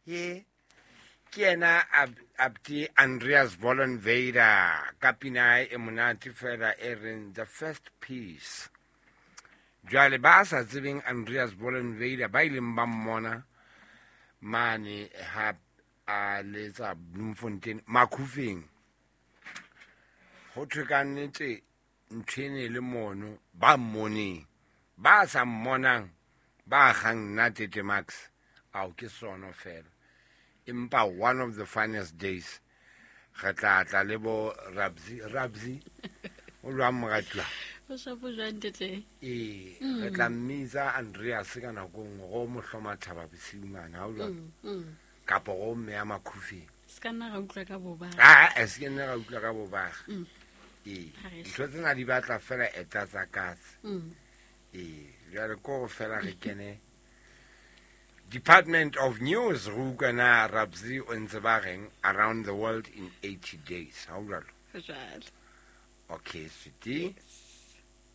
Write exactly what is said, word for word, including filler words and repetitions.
Ye ke yena Abdi Andreas Vollenweider ka pina e monate fela e reng The First Piece. Jwale ba sa tsebeng Andreas Vollenweider ba ileng ba mmona mane ha a letsa Bloemfontein Makhufeng. Ho thwe ka nnete ntho e ne le mono ba mmoneng, ba sa mmonang ba kgang nna Tete Max ao ke sono fela. Empa one of the finest days re tla tla le bo Rabzi Rabzi o lwa moratuwa o shapo jwang tete ee re tla mmitsa Andreas ka nako nngwe go mo hloma thaba bosiu mane ha o jwalo kapa go mme ya Makhufeng se ka nna ra utlwa ka boba a e se ke nna ra utlwa ka bobaga ee ntho tsena di batla fela eta tsa katse ee jwale ko go fela re kene Department of News re utlwa na Rabzi o ntse ba reng around the world in eighty days ha o jwalo jwalo okay sweetie. Yes.